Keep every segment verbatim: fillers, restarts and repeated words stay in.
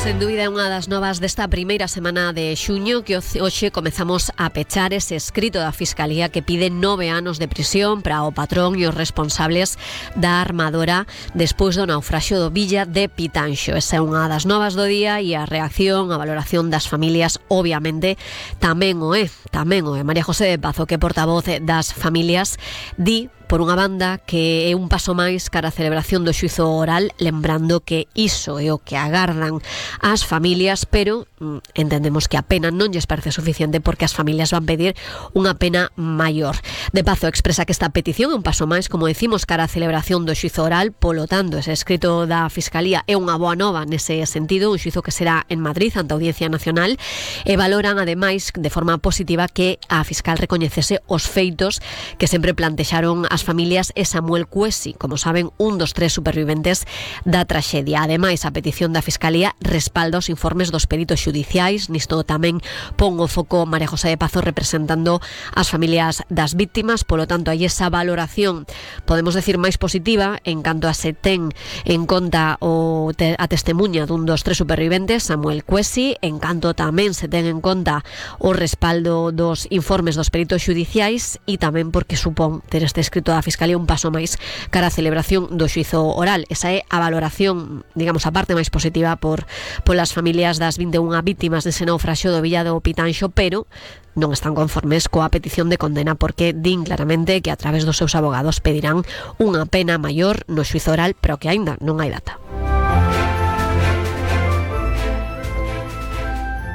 Sen dúbida é unha das novas desta primeira semana de xuño que hoxe comezamos a pechar ese escrito da Fiscalía que pide nove anos de prisión para o patrón e os responsables da armadora despois do naufraxio do Villa de Pitanxo. Esa é unha das novas do día e a reacción, a valoración das familias obviamente tamén o é, tamén o é. María José de Pazo, que portavoz das familias, di por unha banda que é un paso máis cara a celebración do xuízo oral, lembrando que iso é o que agardan as familias, pero mm, entendemos que a pena non lles parece suficiente porque as familias van pedir unha pena maior. De Pazo expresa que esta petición é un paso máis, como decimos, cara a celebración do xuízo oral, polo tanto, ese escrito da Fiscalía é unha boa nova nese sentido, un xuízo que será en Madrid ante a Audiencia Nacional, e valoran ademais de forma positiva que a fiscal recoñecese os feitos que sempre plantexaron as familias e Samuel Cuesi, como saben, un dos tres superviventes da traxedia. Ademais, a petición da Fiscalía respalda os informes dos peritos xudiciais. Nisto tamén pon o foco María José de Pazo representando as familias das víctimas, polo tanto, hai esa valoración, podemos decir, máis positiva en canto a se ten en conta o te, a testemunha dun dos tres superviventes, Samuel Cuesi, en canto tamén se ten en conta o respaldo dos informes dos peritos xudiciais e tamén porque supón ter este escrito da Fiscalía un paso máis cara a celebración do xuízo oral. Esa é a valoración, digamos, a parte máis positiva por polas familias das vinte e unha vítimas dese naufraxio do Villa do Pitanxo, pero non están conformes coa petición de condena porque din claramente que a través dos seus abogados pedirán unha pena maior no xuízo oral, pero que aínda non hai data.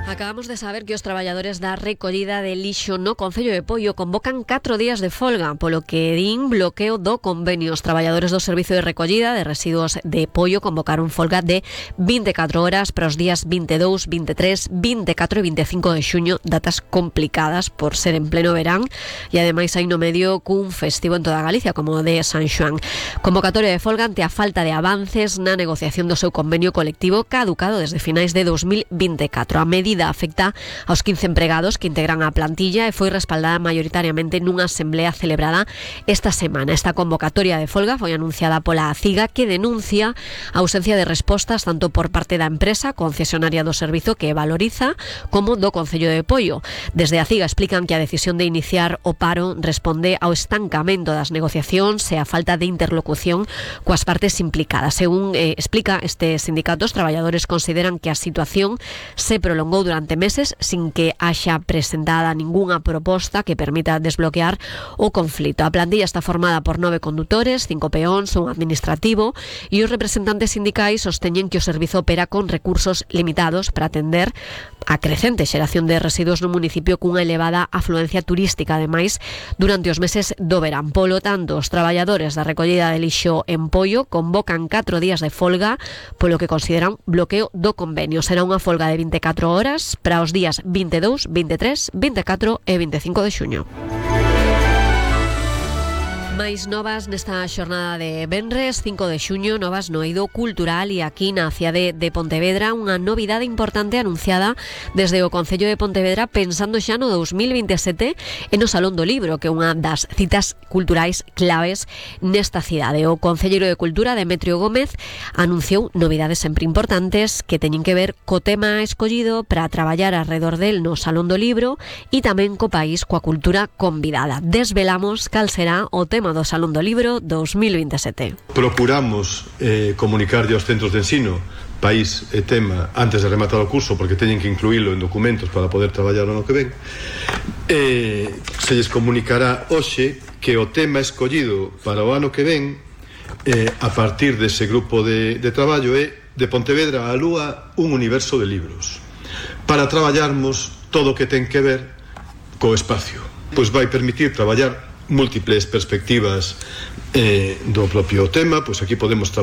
Acabamos de saber que os traballadores da recollida de lixo no Concello de Poio convocan catro días de folga, polo que din bloqueo do convenio. Os traballadores do Servicio de Recollida de Residuos de Poio convocaron folga de vinte e catro horas para os días vinte e dous, vinte e tres, vinte e catro e vinte e cinco de xuño, datas complicadas por ser en pleno verán e ademais hai no medio cun festivo en toda Galicia como o de San Xoán. Convocatoria de folga ante a falta de avances na negociación do seu convenio colectivo caducado desde finais de dos mil vinte e catro. A medida afecta aos quince empregados que integran a plantilla e foi respaldada maioritariamente nunha asamblea celebrada esta semana. Esta convocatoria de folga foi anunciada pola ACIGA, que denuncia a ausencia de respostas tanto por parte da empresa concesionaria do servizo que valoriza como do Concello de Poio. Desde a ACIGA explican que a decisión de iniciar o paro responde ao estancamento das negociacións e a falta de interlocución coas partes implicadas. Según eh, explica este sindicato, os traballadores consideran que a situación se prolongou durante meses sin que haxa presentada ningunha proposta que permita desbloquear o conflito. A plantilla está formada por nove condutores, cinco peóns, un administrativo e os representantes sindicais sosteñen que o servizo opera con recursos limitados para atender a crecente xeración de residuos no municipio cunha elevada afluencia turística, ademais, durante os meses do verán. Polo tanto, os traballadores da recollida de lixo en Poio convocan catro días de folga polo que consideran bloqueo do convenio. Será unha folga de vinte e catro horas para os días vinte e dous, vinte e tres, vinte e catro e vinte e cinco de xuño. Máis novas nesta xornada de venres, cinco de xuño, novas no eido cultural e aquí na cidade de Pontevedra unha novidade importante anunciada desde o Concello de Pontevedra pensando xa no dos mil vinte e sete e no Salón do Libro, que é unha das citas culturais claves nesta cidade. O Concelleiro de Cultura, Demetrio Gómez, anunciou novidades sempre importantes que teñen que ver co tema escollido para traballar alrededor del no Salón do Libro e tamén co país coa cultura convidada. Desvelamos cal será o tema do Salón do Libro dos mil vinte e sete. Procuramos eh, comunicarlle aos centros de ensino país e tema antes de rematar o curso porque teñen que incluílo en documentos para poder traballar o ano que ven. Eh, se lles comunicará hoxe que o tema escollido para o ano que ven eh, a partir dese grupo de, de traballo é de Pontevedra á Lúa, un universo de libros para traballarmos todo o que ten que ver co espacio. Pois vai permitir traballar múltiples perspectivas eh, do propio tema. Pois aquí podemos traballar